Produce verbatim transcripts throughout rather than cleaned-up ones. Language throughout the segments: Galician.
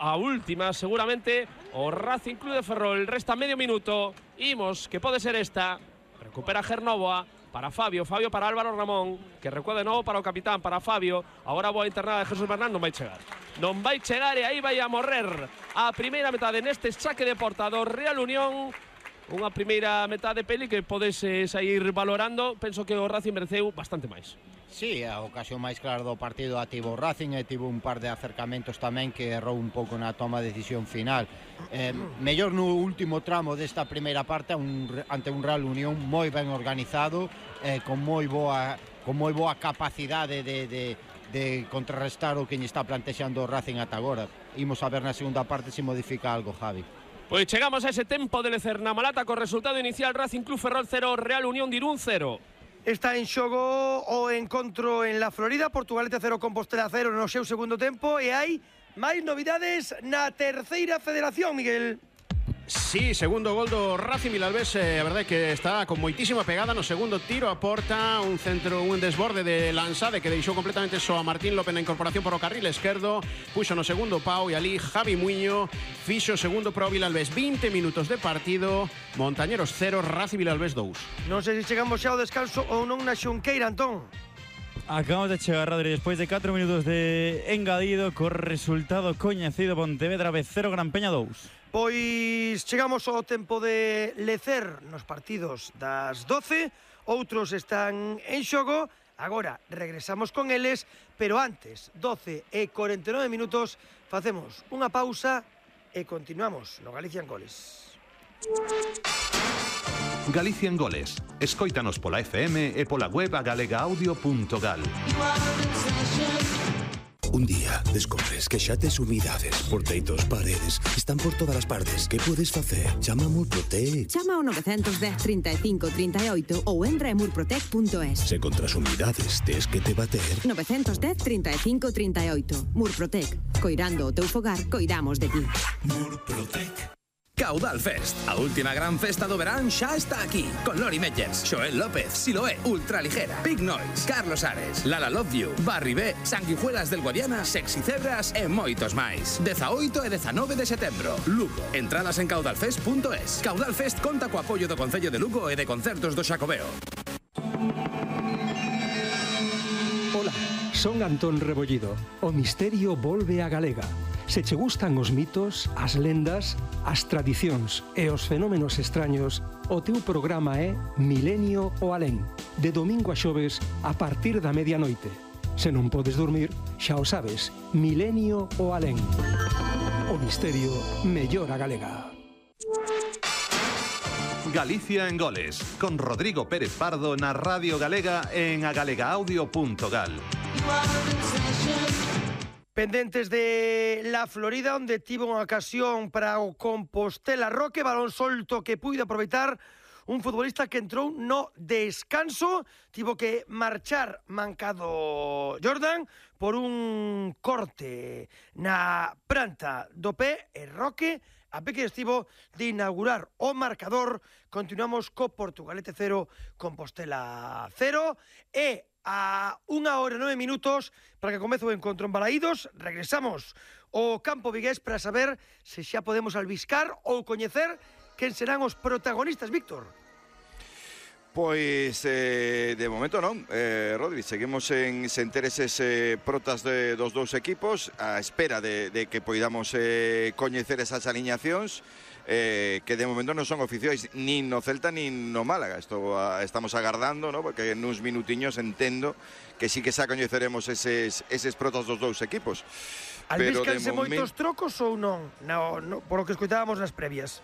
a última, seguramente, o Racing Club de Ferrol. Resta medio minuto. Imos, que pode ser esta. Recupera Gernovoa para Fabio, Fabio para Álvaro Ramón, que recuerda de novo para o capitán, para Fabio. Agora boa internada de Jesús Bernal, non vai chegar. Non vai chegar e aí vai a morrer a primeira metade neste saque de porta do Real Unión. Unha primeira metade, Peli, que podese sair valorando. Penso que o Racing mereceu bastante máis. Sí, a ocasión máis clara do partido a tivo o Racing e tivo un par de acercamentos tamén que errou un pouco na toma de decisión final. Eh, mellor no último tramo desta primeira parte un, ante un Real Unión moi ben organizado, eh, con moi boa con moi boa capacidade de, de, de contrarrestar o que lle está plantexando o Racing ata agora. Imos a ver na segunda parte se modifica algo, Javi. Pois chegamos a ese tempo de lecer na Malata co resultado inicial: Racing Club Ferrol cero, Real Unión de Irún cero. Está en xogo o encontro en la Florida, Portugalete cero, Compostela cero no seu segundo tempo, e hai máis novidades na terceira federación, Miguel. Sí, segundo gol do Racing Vilalbés, eh, a verdade que está con moitísima pegada no segundo tiro a porta, un centro, un desborde de Lanzade que deixou completamente só a Martín López na incorporación por o carril esquerdo, puxo no segundo Pau e ali Javi Muiño fixo segundo pro Vilalbés. Vinte minutos de partido, Montañeros cero, Racing Vilalbés dous. Non sei se chegamos xa ao descanso ou non na Xunqueira, Antón. Acabamos de chegar, Rodri, despois de catro minutos de engadido, co resultado coñecido: Pontevedra B cero, Gran Peña dous. Pois chegamos ao tempo de lecer nos partidos das doce, outros están en xogo, agora regresamos con eles, pero antes, doce e cuarenta e nove minutos, facemos unha pausa e continuamos no Galicia en Goles. Galicia en Goles. Escóitanos pola F M e pola web a galega audio punto gal. Un día descobres que xa tes umidades, porteitos, paredes, están por todas as partes. Que podes facer? Chama a Murprotec. Chama ao nove un cero, trinta e cinco, trinta e oito ou entra en murprotec punto es. Se contra as umidades tes que te bater. nove un cero, trinta e cinco, trinta e oito. Murprotec. Coirando o teu fogar, coidamos de ti. Murprotec. Caudal Fest, a última gran festa do verán xa está aquí, con Lori Meyers, Xoel López, Siloé, Ultraligera, Big Noise, Carlos Ares, Lala Love You, Barry B, Sanguijuelas del Guadiana, Sexy Cebras e moitos máis. dezaoito e dezanove de setembro, Lugo. Entradas en caudalfest punto es. Caudal Fest conta co apoio do Concello de Lugo e de Concertos do Xacobeo. Ola, son Antón Rebollido. O misterio volve a Galega. Se che gustan os mitos, as lendas, as tradicións e os fenómenos extraños, o teu programa é Milenio o Alén, de domingo a xoves a partir da medianoite. Se non podes dormir, xa o sabes, Milenio o Alén. O misterio mellora galega. Galicia en Goles, con Rodrigo Pérez Pardo na Radio Galega en a galega audio punto gal. Pendentes de la Florida, onde tivo unha ocasión para o Compostela Roque, balón solto que puido aproveitar un futbolista que entrou no descanso, tivo que marchar mancado Jordan por un corte na planta do pé, e Roque a pé que estivo de inaugurar o marcador. Continuamos co Portugalete cero, Compostela cero, e a unha hora e nove minutos para que comece o encontro en Balaídos. Regresamos ao campo vigués para saber se xa podemos albiscar ou coñecer quen serán os protagonistas, Víctor. Pois eh, de momento non, eh, Rodri, seguimos en sen ter eses eh, protas de, dos dous equipos, a espera de, de que poidamos eh, coñecer esas aliñacións, eh, que de momento non son oficiais nin no Celta nin no Málaga. Esto a, estamos agardando, ¿no? Porque nuns minutiños entendo que sí que xa coñeceremos eses, eses protas dos dous equipos. Albíscanse moitos trocos ou non? No, no, por o que escoitábamos nas previas.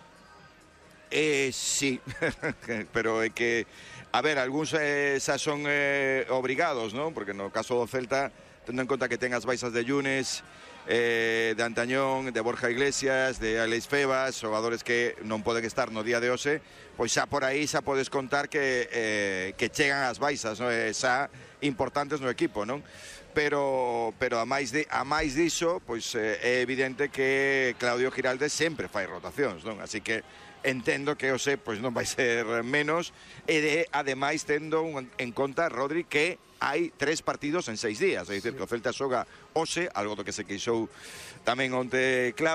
Eh, sí, pero é que, a ver, algúns eh, xa son eh, obrigados, non? Porque no caso do Celta, tendo en conta que ten as baixas de Yunes, eh, de Antañón, de Borja Iglesias, de Alex Febas, xogadores que non poden estar no día de hoxe, pois xa por aí xa podes contar que, eh, que chegan as baixas, non? Eh, xa importantes no equipo, non? Pero, pero a máis de, a máis diso, pois eh, é evidente que Claudio Giraldes sempre fai rotacións, non? Así que entendo que hoxe pois non vai ser menos, e de, ademais tendo un, en conta, Rodri, que hai tres partidos en seis días, é dicir, que o Celta xoga hoxe, algo do que se queixou tamén onte Clave.